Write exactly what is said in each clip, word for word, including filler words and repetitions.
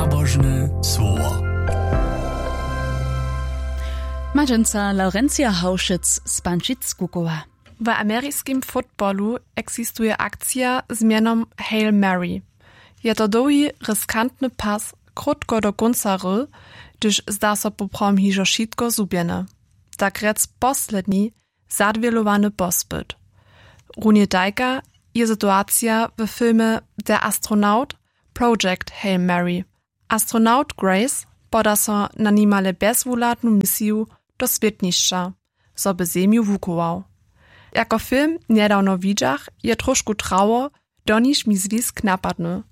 Nabožne słowo. Madźenca Laurencija Haušec z Pančic Kukowa. W ameriskim fotbalu eksistuje akcija z mjenom Hail Mary. Je to dołhi riskantny pas, krótko do kónca hry, hdyž zda so poprawom hižo wšitko zhubjene. Tak rjec posledni zadwělowany pospyt. Runje tajka je situacija w filmje Der Astronaut, Project Hail Mary. Astronaut Grace poda so na nimale bjezwuhladnu misiju do swětnišća, zo by Zemju wuchował. Jako film njedawno widźach, je trošku trało, do niž mi zwisk napadny.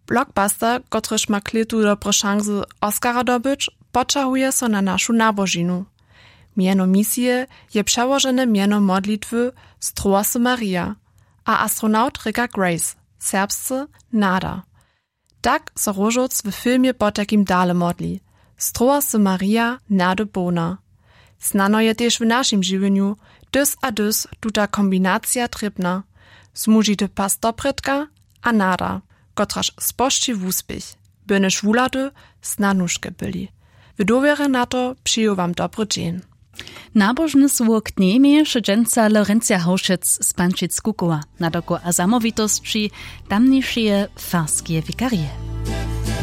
Blockbuster, kotryž ma klětu dobre šansy Oscara dobyć, poćahuje so na našu nabožinu. Mjeno misije je přełožene mjeno modlitwy Strołasy Maria, a astronaut rěka Grace, serbsce Nada. Tak so Róžowc w filmje potajkim dale modli: Strołasy Maria, nady połna. Snano je tež w našim žiwjenju dys a dys tuta kombinacija trěbna. Zmužity pas doprědka a nada, kotraž spožči wuspěch, byrnjež wuhlady snadnuške byli. W dowěrje na to přeju wam dobry dźeń. Nabožne słowo k njej měješe dźensa Lorencja Haušec z Pančic Kukowa, nadoko a zamołwitosći tamnišeje farskeje wikarije.